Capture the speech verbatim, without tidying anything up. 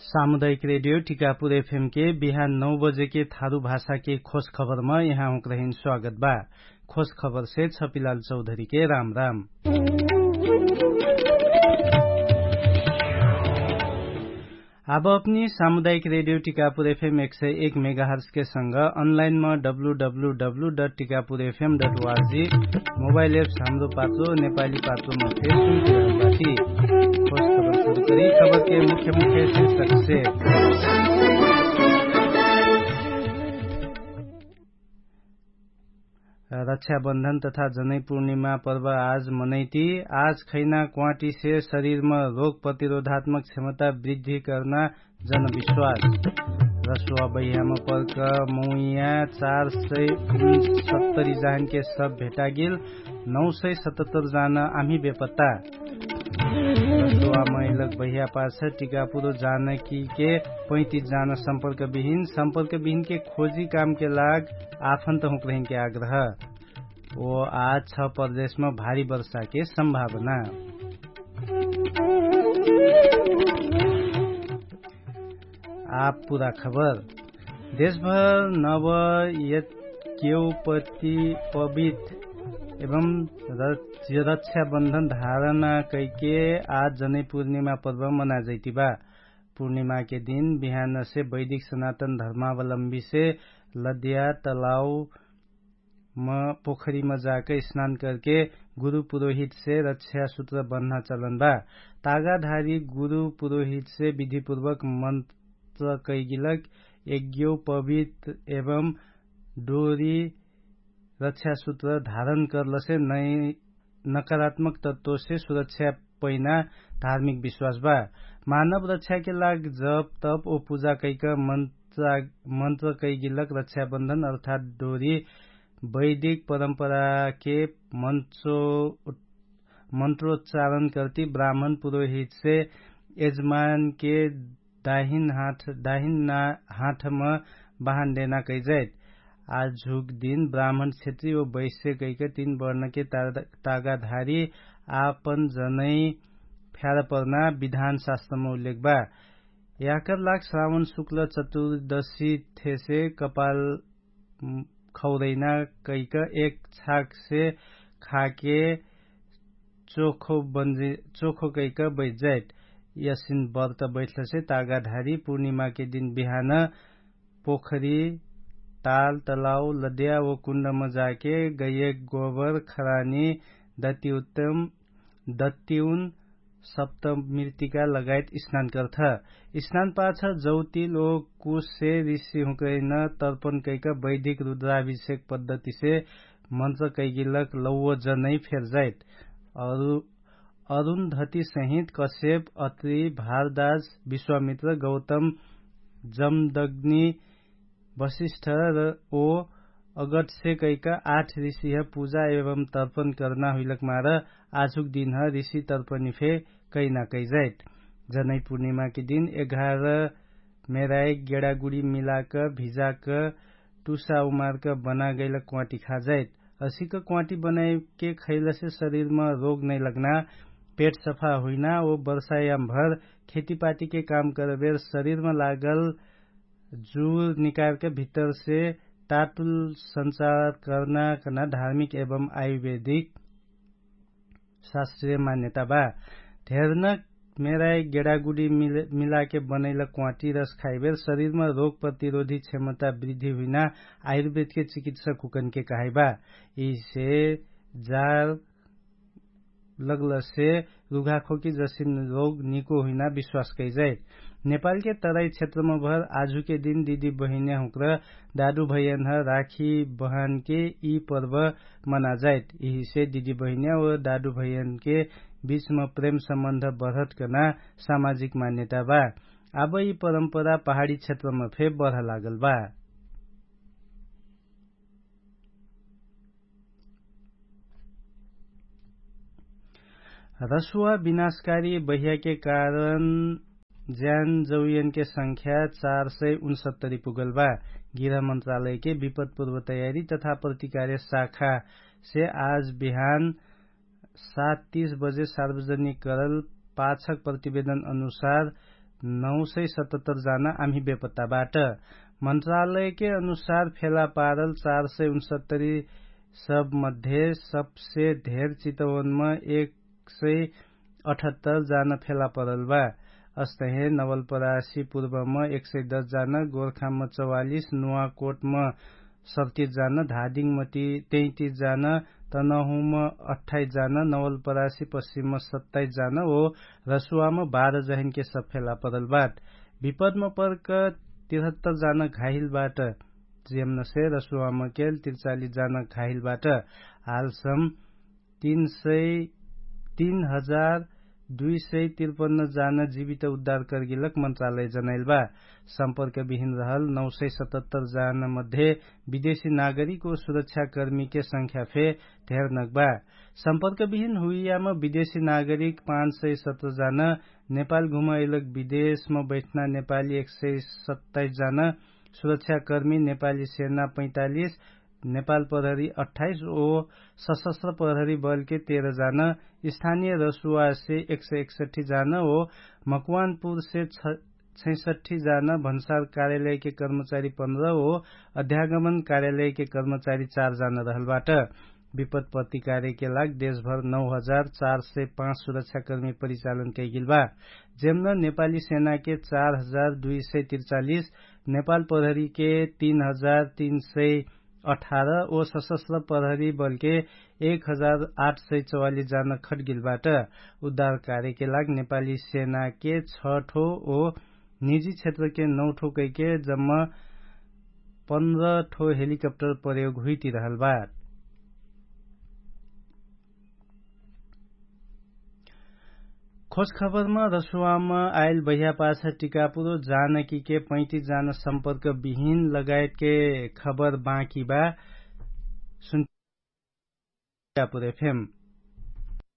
सामुदायिक रेडियो टिकापुर एफएम के बिहान नौ बजे के थारु भाषा के खोज खबर म यहाँ हुँक रहिन स्वागत बा। खोज खबर से छपिलाल चौधरी के राम राम। आब अपनी सामुदायिक रेडियो टिकापुर एफएम एक सय एक मेगाहर्स के संग अनलाइन म W W W dot Tikapur FM dot ORG mobile apps Hamro Patro नेपाली पात्रो म फेर सुन के रहल बाटी। खोज खबर सुरु करी खबर के मुख्य मुख्य शीर्षक से। रक्षाबन्धन तथा जनै पूर्णिमा पर्व आज मनैती। आज खैना क्वाँटी से शरीर म रोग प्रतिरोधात्मक क्षमता वृद्धि कर्ना जनविश्वास। रसुवा बहिया म पर्क मौइया चार सय उनसत्तरी जान के सब भेटागिल। नौ सय सतहत्तर जान आम्ही बेपत्ता। रसुवा मैलक बहिया पाछ टिकापुरो जान कि के पैतिस जान सम्पर्क बिहिन सम्पर्क बिहिन के खोजी काम के लाग आफन्त हुँक रहिन के आग्रह। ओ आज छ प्रदेश म भारी वर्षा के सम्भावना। आप पुरा खबर। देशभर नव यज्ञोपति पवित एवं रक्षाबन्धन धारणा कैके आज जनै पूर्णिमा पर्व मनाजैतिबा। पूर्णिमा के दिन बिहान से वैदिक सनातन धर्मावलम्बी से लद्या तलाव म पोखरी म जाके स्नान करके गुरु पुरोहित से रक्षा सुत्र बन्ना चलन बा। तागाधारी गुरु पुरोहित से विधिपूर्वक मन्त्र कैगिलक यज्ञोपवित एवं डोरी रक्षा सुत्र धारण कर्लसे नै नकारात्मक तत्वसे सुरक्षा पैना धार्मिक विश्वास बा। मानव रक्षाके लाग जप तप ओ पुजा कैक मन्त्र कैगिलक रक्षाबन्धन अर्थात डोरी वैदिक परम्पराके मन्त्रो मन्त्रोच्चारण कर्ति ब्राह्मण पुरोहितसे यजमानके दाहिन हाठम बहान देना कैजैत। आजुक दिन ब्राह्मण क्षेत्री ओ वैश्य कैक तीन वर्णके तागाधारी आपन जनै फ्यारपर्ना विधान शास्त्रम उल्लेख बा। याकर लाग श्रावण शुक्ल चतुर्दशी थेसे कपाल खौरैना कैक एक छाकसे खाके चोखो कैक बैठजाइट। यसिन बर्त बैठलसे तागाधारी पूर्णिमाके दिन बिहान पोखरी ताल तलाव लद्या ओ कुण्डम जाके गैयक गोबर खरानी दत्तिउन सप्त मृतिका लगायत स्नान कर्थ। स्नान पाछ जौतिल ओ कुशसे ऋषि हुँकैन तर्पण कैक वैधिक रुद्राभिषेक पद्धतिसे मन्त्र कैगिलक लौवो जनै फेर्जाइत। अरुन्धति सहित कश्यप अत्रि भारदाज विश्वामित्र गौतम जमदग्नि वशिष्ठ ओ अगटसे कैक आठ ऋषिह पुजा एवं तर्पण कर्ना हुइलक मार आजुक दिनह ऋषि तर्पणिफे कैना कैजाइत। जनै पुर्णिमाके दिन एघार मेराइक गेडागुडी मिलाक भिजाक टुसा उमार्क बनागैलक क्वाँटी खाजाइत। असिक क्वाँटी बनाइके खैलसे शरीरम रोग नैलग्ना पेट सफा हुइना ओ वर्षायामभर खेतिपाटीके काम करबेर शरीरम लागल जुर निकारके भित्तरसे तातुल सञ्चार कर्ना कर्ना धार्मिक एवं आयुर्वेदिक शास्त्रीय मान्यता बा। धेर्नक मेराइ गेडागुडी मिलाके बनैल क्वाँटी रस खाइबेर शरीरमा रोग प्रतिरोधी क्षमता वृद्धि हुइना आयुर्वेदके चिकित्सक हुकनके कहाइबा। यिसे जार लगलसे रुघाखोकी जसिन रोग निको हुइना विश्वास कैजाइत। नेपालके तराई क्षेत्रमभर आजुके दिन दिदी बहिन्या हुँक्र दादु भैयन्ह राखी बहनके यि पर्व मनाजाइत। यिहिसे दिदी बहिन्या ओ दादु भैयनके बिचम प्रेम सम्बन्ध बढत कर्ना सामाजिक मान्यता बा। आब यि परम्परा पहाडी क्षेत्रम फे बढ लागल बा। रसुवा विनाशकारी बहियाके कारण ज्यान जौयनके संख्या चार सय उनसत्तरी पुगल बा। गृह मन्त्रालयके विपदपूर्व तयारी तथा प्रतिकार्य शाखासे आज बिहान सात तीस बजे सार्वजनिक करल पाछक प्रतिवेदन अनुसार नौ सय सतहत्तर जाना आम्ही बेपत्ता बाट। मन्त्रालयके अनुसार फेला पारल चार सय उनसत्तरी सब मध्ये सबसे धेर चितवनमा एक सय अठहत्तर जाना फेला परल बा। अस्तहे नवलपरासी पूर्वमा एक सय दस जाना, गोर्खामा चौवालिस, नुवाकोटमा सत्तिस जाना, धादिङमा तैतिस जाना, तनहुमा अठ्ठाइस जाना, नवलपरासी पश्चिममा सत्ताइस जाना ओ रसुवामा बाह्र जहिनके सब फेला परल बाट। विपदमा पर्क तिरहत्तर जाना घाहिल बाट। जेमनसे रसुवामा केल तिरचालिस जाना घाहिल बाट। हालसम तीन सय तीन हजार दुई सय तिरपन्न जाना जीवित उद्धार कर्गिलक मन्त्रालय जनाइल बा। सम्पर्क बिहिन रहल नौ सय सतहत्तर जाना मध्ये विदेशी नागरिक ओ सुरक्षाकर्मीके संख्या फे धेर नक बा। सम्पर्क बिहिन हुइयामा विदेशी नागरिक पाँच सय सत्र जाना, नेपाल घुमाइलक विदेशमा बैठना नेपाली एक सय सत्ताइस जाना, सुरक्षाकर्मी नेपाली सेना पैँतालिस, नेपाल प्रहरी अट्ठाइस ओ सशस्त्र प्रहरी बलके तेह्र जाना, स्थानीय रसुवासे एक सय एकसट्ठी जाना ओ मकवानपुरसे छैसट्ठी जाना, भन्सार कार्यालयके कर्मचारी पन्ध्र ओ अध्यागमन कार्यालयके कर्मचारी चार जाना रहलबाट। विपत्पत्ति कार्यके लाग देशभर नौ हजार चार सय पाँच सुरक्षाकर्मी परिचालन कैगिल बा। जेम्न नेपाली सेनाके चार हजार दुई सय तिरचालिस, नेपाल प्रहरीके तीन हजार तीन सय अठार ओ सशस्त्र प्रहरी बलके एक हजार आठ सय चौवालिस जाना खटगिल बाट। उद्धार कार्यके लाग नेपाली सेनाके छ ठो ओ निजी क्षेत्रके नौ ठो कैके जम्मा पन्ध्र ठो हेलिकप्टर प्रयोग हुइतिरहल बा। खोजखबरमा रसुवामा आइल बहियापाछ टिकापुरो जानकीके पैँतिस जाना सम्पर्क बिहिन लगायतके खबर बाँकी बा। सुन टिकापुर एफएम।